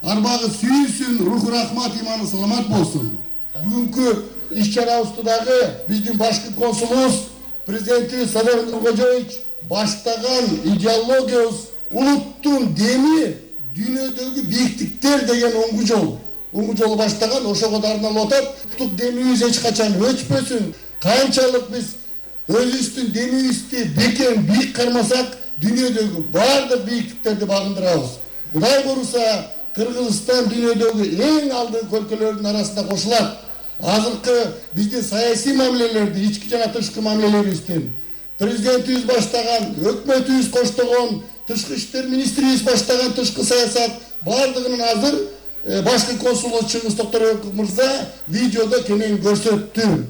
Арбагы сүйсүн, руху рахмат, иманы саламат болсун. Бүгүнкү иш-чарабызды дагы биздин башкы консулубуз президентибиз Садыр Нуркожоевич баштаган идеологиябыз улуттун деми дүйнөдөгү бийиктиктер деген оңгу жолу баштаган, ошого да арналып атат. Улуттук демибиз эч качан өчпөсүн. Канчалык биз өзүбүздүн демибизди бекем бийик кармасак, дүйнөдөгү бардык бийиктиктерди багындырабыз. Кудай буюрса, Кыргызстан дүйнөдөгү эң алдыңкы өлкөлөрдүн арасында кошулат. Азыркы биздин саясий мамилелерди, ички жана тышкы мамилелерибиздин президентибиз баштаган, өкмөтүбүз коштогон, тышкы иштер министрибиз баштаган тышкы саясат бардыгынын азыр башкы консулу Чыңгыз Токторбеков мырза видеодо кенен көрсөттү.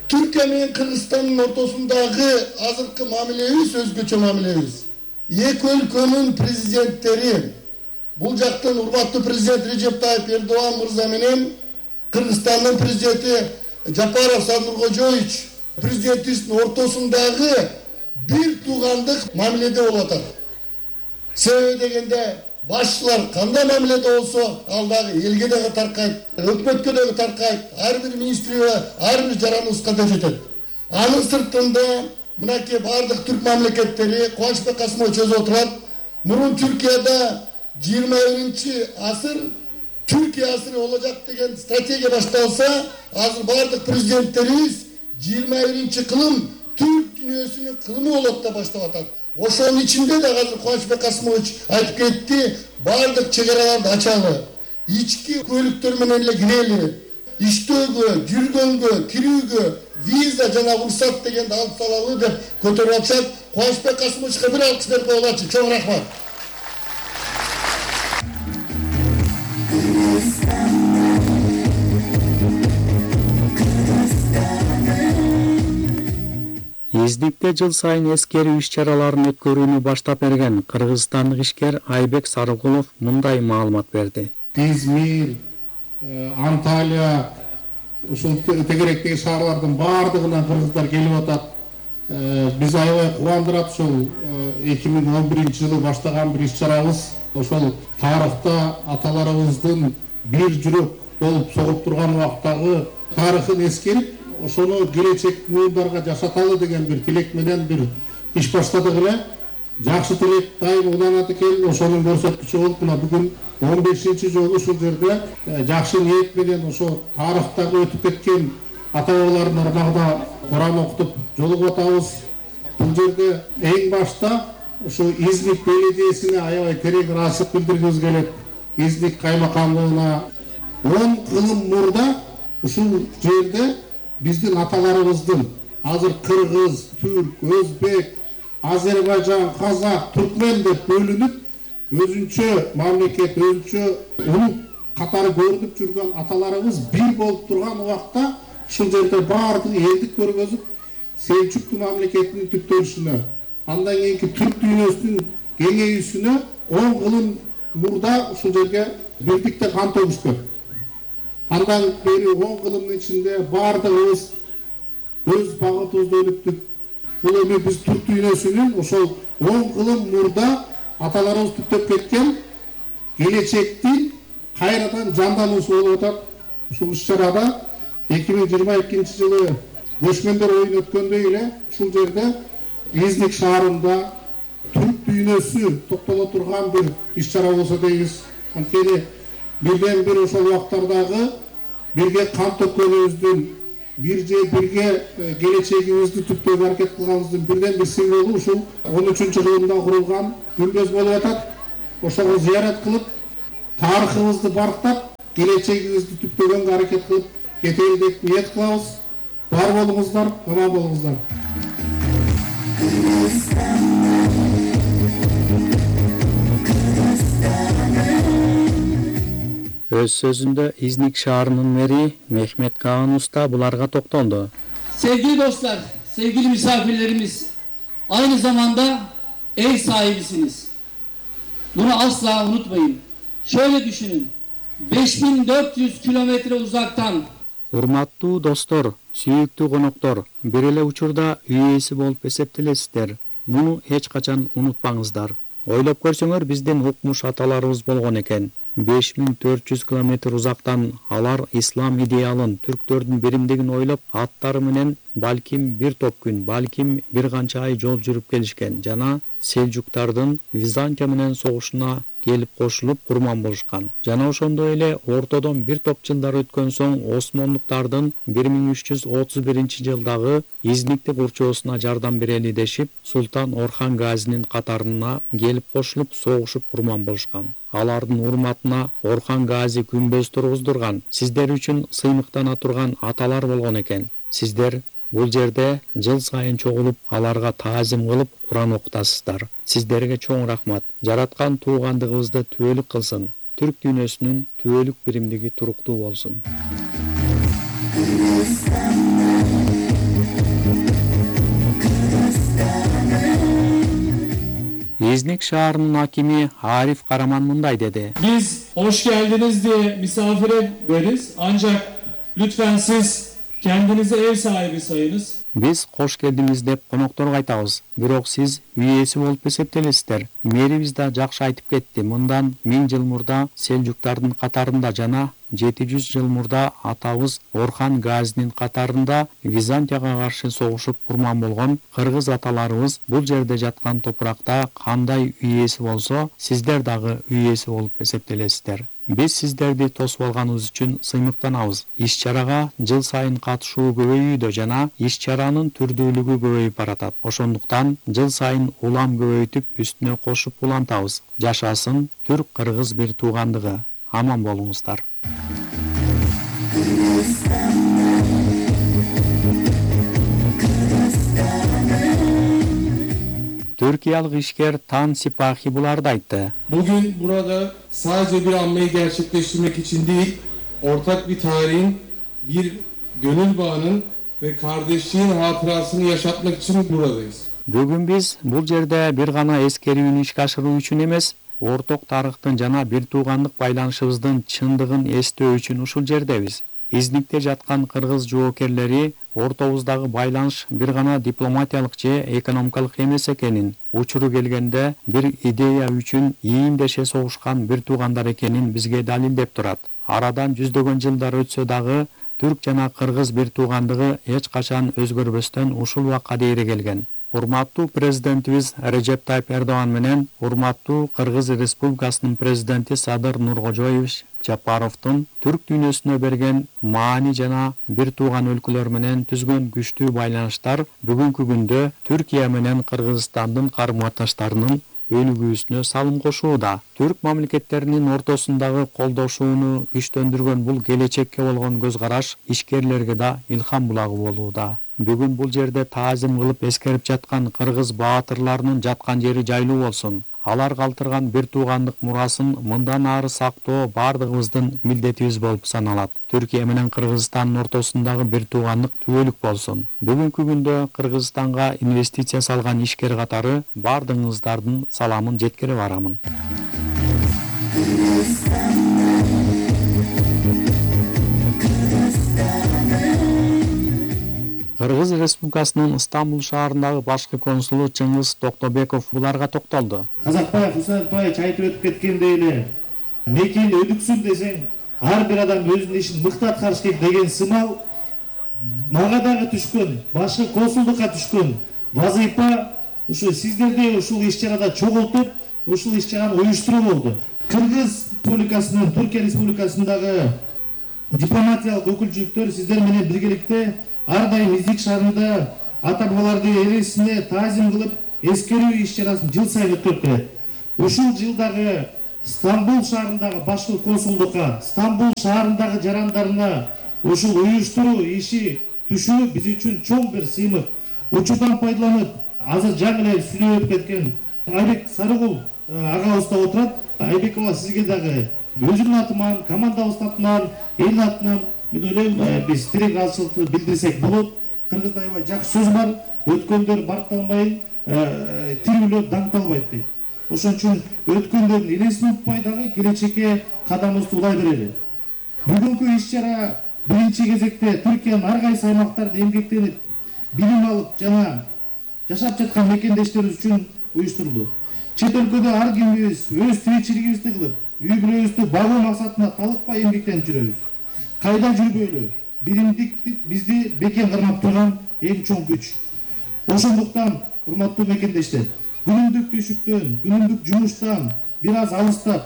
Түркия менен Кыргызстандын ортосундагы азыркы мамилебиз өзгөчө мамилебиз. Эки өлкөнүн президенттери, бул жактан урматтуу президент Режеп Тайып Эрдоган мырза менен Кыргызстандын президенти Жапаров Садыр Нуркожоевич президентибиздин ортосундагы бир туугандык мамиледе болуп атат. Себеби дегенде башчылар кандай мамиледе болсо, ал дагы элге дагы таркайт, өкмөткө дагы таркайт, ар бир министрге, ар бир жараныбызга да жетет. Анын сыртында мынакей бардык түрк мамлекеттери Кубанычбек Касымович өзү отурат. Мурун Түркияда 21-асыр Түркия асыры болacak деген стратегия башталса, азыр бардык президенттерибиз 21-кылым Түрк дүйнөсүнүн кылымы болот да баштап атат. Ошонун ичинде да азыр Кубанычбек Касымович айтып кетти, бардык чек араларды ачалы, ички көлүктөр менен эле кирели, иштөөгө, жүргөнгө, кирүүгө виза жана уруксат дегенди алып салалы деп көтөрүп атышат. Кубанычбек Касымовичке бир алкыш берип коелучу. Чоң рахмат. Изникте жыл сайын эскерүү иш-чараларын өткөрүүнү баштап берген кыргызстандык ишкер Айбек Сарыгулов мындай маалымат берди. Измир, Анталия, ушул тегеректеги шаарлардын бардыгынан кыргыздар келип атат. Биз аябай кубандырат ушул 2011-жылы баштаган бир иш-чарабыз. Ошол тарыхта аталарыбыздын бир жүрөк болуп согуп турган убактагы тарыхын эскерип, ошону келечек муундарга жашаталы деген бир тилек менен бир иш баштадык эле. Жакшы тилек дайым уланат экен. Ошонун көрсөткүчү болуп, мына бүгүн 15-чи жолу ушул жерде жакшы ниет менен ошо тарыхтагы өтүп кеткен ата бабалардын ырмагында Куран окутуп жолугуп атабыз. Бул жерде эң башта ушу Изник беледиесине аябай терең ыраазычылык билдиргибиз келет. Изник каймакамдыгына 10 кылым мурда ушул жерде биздин аталарыбыздын азыр кыргыз, түрк, өзбек, Азербайжан, казак, түркмен деп бөлүнүп, өзүнчө мамлекет, өзүнчө улут катары көрүнүп жүргөн аталарыбыз бир болуп турган убакта ушул жерде баардыгы элдик көргөзүп, Селчукту мамлекетинин түптөлүшүнө, андан кийинки түрк дүйнөсүнүн кеңейүүсүнө 10 кылым мурда ушул жерге бирдикте кан төгүшкөн. Андан бери 10 кылымдын ичинде бардыгыбыз өз багытыбызды өнүктүк. Бул эми биз түрк дүйнөсүнүн ошол 10 кылым мурда аталарыбыз түптөп кеткен келечектин кайрадан жандануусу болуп атат. Ушул иш-чарада 2022-жылы көчмөндөр оюн өткөндөй эле ушул жерде Изник шаарында түрк дүйнөсү топтоло турган бир иш-чара болсо дейбиз. Анткени бирден бир ошол убактардагы бирге кан төккөнүбүздүн, бирге келечегибизди түптөөгө аракет кылганыбыздын бирден бир символу ушул 13-кылымда курулган күмбөз болуп атат. Ошого зыярат кылып, тарыхыбызды барктап, келечегибизди түптөгөнгө аракет кылып кетели деп ниет кылабыз. Бар болуңуздар, аман болуңуздар. Өз сөзүндө Изник шаарынын мэри Мехмет Каан Уста буларга токтолду. Sevgili dostlar, sevgili misafirlerimiz, aynı zamanda ev sahibisiniz. Bunu asla unutmayın. Şöyle düşünün, 5400 kilometre uzaktan Урматтуу достор, сүйүктүү коноктор, бир эле учурда үй ээси болуп эсептелесиздер. Муну эч качан унутпаңыздар. Ойлоп көрсөңөр, биздин укмуш аталарыбыз болгон экен. 5400 километр узактан алар ислам идеалын, түрктөрдүн биримдигин ойлоп, аттары менен балким бир топ күн, балким бир канча ай жол жүрүп келишкен жана Селжуктардын Византия менен согушуна келип кошулуп курман болушкан. Жана ошондой эле ортодон бир топ жылдар өткөн соң Осмондуктардын 1331-жылдагы Изникти курчоосуна жардам берели дешип, Султан Орхан Газинин катарына келип кошулуп, согушуп курман болушкан. Алардын урматына Орхан Гази күмбөз тургуздурган, сиздер үчүн сыймыктана турган аталар болгон экен. Сиздер бул жерде жыл сайын чогулуп, аларга таазим кылып, Куран окутасыздар. Сиздерге чоң рахмат. Жараткан туугандыгыбызды түбөлүк кылсын. Түрк дүйнөсүнүн түбөлүк биримдиги туруктуу болсун. İznik şaharının hakimi Arif Karaman mınday dedi. Biz hoş geldiniz diye misafir ederiz. Ancak lütfen siz kendinizi ev sahibi sayınız. Biz koş geldiniz dep konoktorga айтабыз. Бирок сиз үй ээси болуп эсептелесиздер. Мэрибиз да жакшы айтып кетти. Мындан 1000 жыл мурда Селжуктардын катарында жана 700 жыл мурда атабыз Орхан Газинин катарында Византияга каршы согушуп курман болгон кыргыз аталарыбыз бул жерде жаткан топуракта кандай үй ээси болсо, сиздер дагы үй ээси болуп эсептелесиздер. Биз сиздерди тосуп алганыбыз үчүн сыймыктанабыз. Иш-чарага жыл сайын катышуу көбөйүүдө жана иш-чаранын түрдүүлүгү көбөйүп баратат. Ошондуктан жыл сайын улам көбөйтүп, үстүнө кошуп улантабыз. Жашасын түрк-кыргыз бир туугандыгы. Аман болуңуздар. Türkiyalık işker Tan Sipahi bularda aytты. Bugün burada sadece bir anmayı gerçekleştirmek için değil, ortak bir tarihin, bir gönül bağının ve kardeşliğin hatırasını yaşatmak için buradayız. Бүгүн биз бул жерде бир гана эскерүүнү ишке ашыруу үчүн эмес, орток тарыхтын жана бир туугандык байланышыбыздын чындыгын эстөө үчүн ушул жердебиз. Изникте жаткан кыргыз жоокерлери ортобуздагы байланыш бир гана дипломатиялык же экономикалык эмес экенин, учуру келгенде бир идея үчүн ийиндеше согушкан бир туугандар экенин бизге далилдеп турат. Арадан жүздөгөн жылдар өтсө дагы түрк жана кыргыз бир туугандыгы эч качан өзгөрбөстөн ушул убакка дейре келген. Урматтуу президентибиз Режеп Тайып Эрдоган менен урматтуу Кыргыз Республикасынын президенти Садыр Нуркожоевич Жапаровдун түрк дүйнөсүнө берген маани жана бир тууган өлкөлөр менен түзгөн күчтүү байланыштар бүгүнкү күндө Түркия менен Кыргызстандын карым-катыштарынын өнүгүүсүнө салым кошууда. Түрк мамлекеттеринин ортосундагы колдошууну күчтөндүргөн бул келечекке болгон көз караш ишкерлерге да илхам булагы болууда. Бүгүн бул жерде таазим кылып эскерип жаткан кыргыз баатырларынын жаткан жери жайлуу болсун. Алар калтырган бир туугандык мурасын мындан ары сактоо бардыгыбыздын милдетибиз болуп саналат. Түркия менен Кыргызстандын ортосундагы бир туугандык түбөлүк болсун. Бүгүнкү күндө Кыргызстанга инвестиция салган ишкер катары бардыгыңыздардын саламын жеткире барамын. Кыргыз Республикасынын Стамбул шаарындагы башкы консулу Чыңгыз Токтобеков буларга токтолду. Казакбаев, Хусанбаев айтып өтүп кеткендей эле, мекени өдүксүн десең, ар бир адам өзүнүн ишин мыкты аткарыш керек деген сымал мага дагы түшкөн, башкы консулдукка түшкөн вазыйфа ушу сиздерди ушул иш-чарада чогултуп, ушул иш-чараны уюштуруу болду. Кыргыз Республикасынын, Түркия Республикасындагы дипломатиялык өкүлчүлүктөр сиздер менен биргеликте ар дайым Изник шаарында ата бабаларды эресине таазим кылып, эскерүү иш-чарасын жыл сайын өткөрүп келет. Ушул жылдагы Стамбул шаарындагы башкы консулдукка, Стамбул шаарындагы жарандарына ушул уюштуруу иши түшүү биз үчүн чоң бир сыймык. Учурдан пайдаланып, азыр жаңы эле сүйлөп өтүп кеткен Айбек Сарыгул агабыз да отурат. Айбек ага сизге дагы өзүмдүн атыман, командабыздын атынан, эл атынан мен ойлойм, биз тирек алчылыкты билдирсек болот. Кыргызда аябай жакшы сөз бар, өткөндөр баркталбайын, тирүүлөр даңталбайт дейт. Ошон үчүн өткөндөрдүн элесин унутпай дагы келечекке кадамыбызды улай берели. Бүгүнкү иш-чара биринчи кезекте Түркиянын ар кайсы аймактарында эмгектенип, билим алып жана жашап жаткан мекендештерибиз үчүн уюштурулду. Чет өлкөдө ар кимибиз өз тиричилигибизди кылып, үй бүлөбүздү багуу максатына талыкпай эмгектенип жүрөбүз. Кайда жүрбөйлү, биримдик бизди бекем кармап турган эң чоң күч. Ошондуктан, урматтуу мекендештер, күнүмдүк түйшүктөн, күнүмдүк жумуштан бир аз алыстап,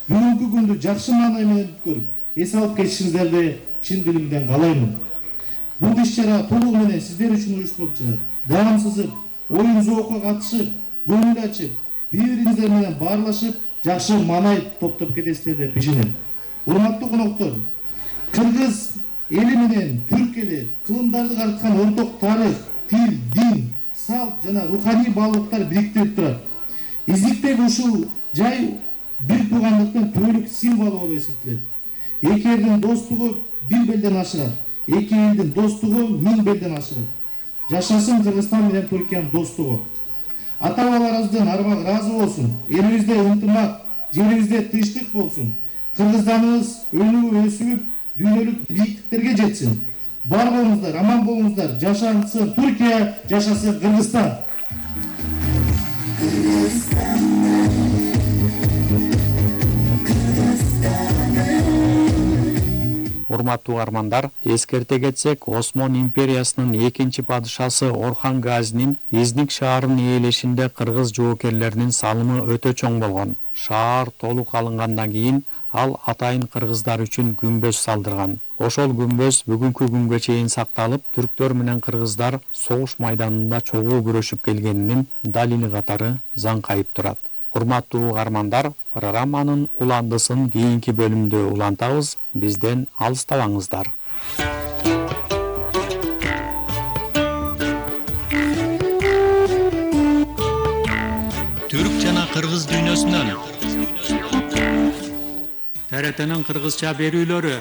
бүгүнкү күндү жакшы маанай менен өткөрүп, эс алып кетишиңиздерди чын дилимден каалаймын. Бул иш-чара толугу менен сиздер үчүн уюштурулуп жатат. Даам сызып, оюн зоокко катышып, көңүл ачып, бири-бириңиздер менен баарлашып, жакшы маанай топтоп кетесиздер деп ишенем. Урматтуу коноктор, кыргыз эли менен түрк эли кылымдарды карыткан орток тарых, тил, дин, салт жана руханий баалуулуктар бириктирип турат. Издиктеги ушул жай бир туугандыктын түбөлүк символу болуп эсептелет. Эки элдин достугу бир белден ашырат. Эки элдин достугу миң белден ашырат. Жашасын Кыргызстан менен Түркиянын достугу. Ата-бабаларыбыздын армагы ыраазы болсун. Элибизде ынтымак, жерибизде тынчтык болсун. Кыргызстаныбыз өнүгүп, өсүп, дүйнөлүк бийиктиктерге жетсин. Бар болуңуздар, аман болуңуздар. Жашасын Түркия, жашасын Кыргызстан. Урматтуу угармандар, эскерте кетсек, Осмон империясынын экинчи падышасы Орхан Газинин Изник шаарынын ээлешинде кыргыз жоокерлеринин салымы өтө чоң болгон. Шаар толук алынгандан кийин ал атайын кыргыздар үчүн күмбөз салдырган. Ошол күмбөз бүгүнкү күнгө чейин сакталып, түрктөр менен кыргыздар согуш майданында чогуу күрөшүп келгенинин далили катары заңкайып турат. Урматтуу угармандар, программанын уландысын кийинки бөлүмдө улантабыз. Бизден алыстабаңыздар. Түрк жана кыргыз дүйнөсүнөн ТРТнын кыргызча берүүлөрү.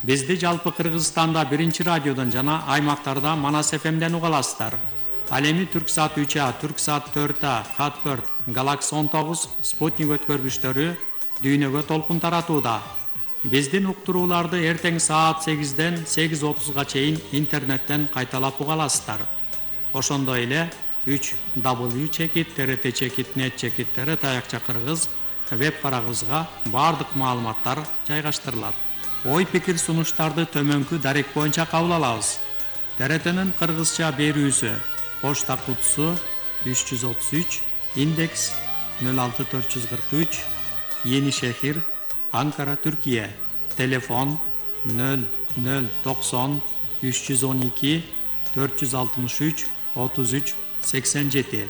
Бизди жалпы Кыргызстанда 1-радиодон жана аймактарда Манас ФМден уга аласыздар. Ал эми Түрксат 3А, Түрксат 4А, Хат4, Галакс 19, Спутник өткөргүчтөрү дүйнөгө толкун таратууда. Биздин уктурууларды эртең саат 8ден 8:30га чейин интернеттен кайталап уга аласыздар. Ошондой эле 3w.trt.net/tr Кыргыз веб барагыбызга бардык маалыматтар жайгаштырылат. Ой пикир сунуштарды төмөнкү дарек боюнча кабыл алабыз. ТРТнын кыргызча берүүсү Почта кутусу 333, индекс 06443, Yeni Şehir, Ankara, Türkiye. Telefon 0090 312 463 33 87.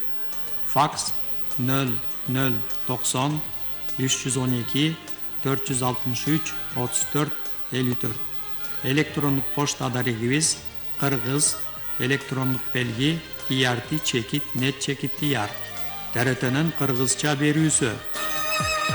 Faks 0090 312 463 34 54. Elektronik poçta adresimiz Kırgız elektronik belgi trt.net/tr. TRT'nin Kırgızça berүүsü.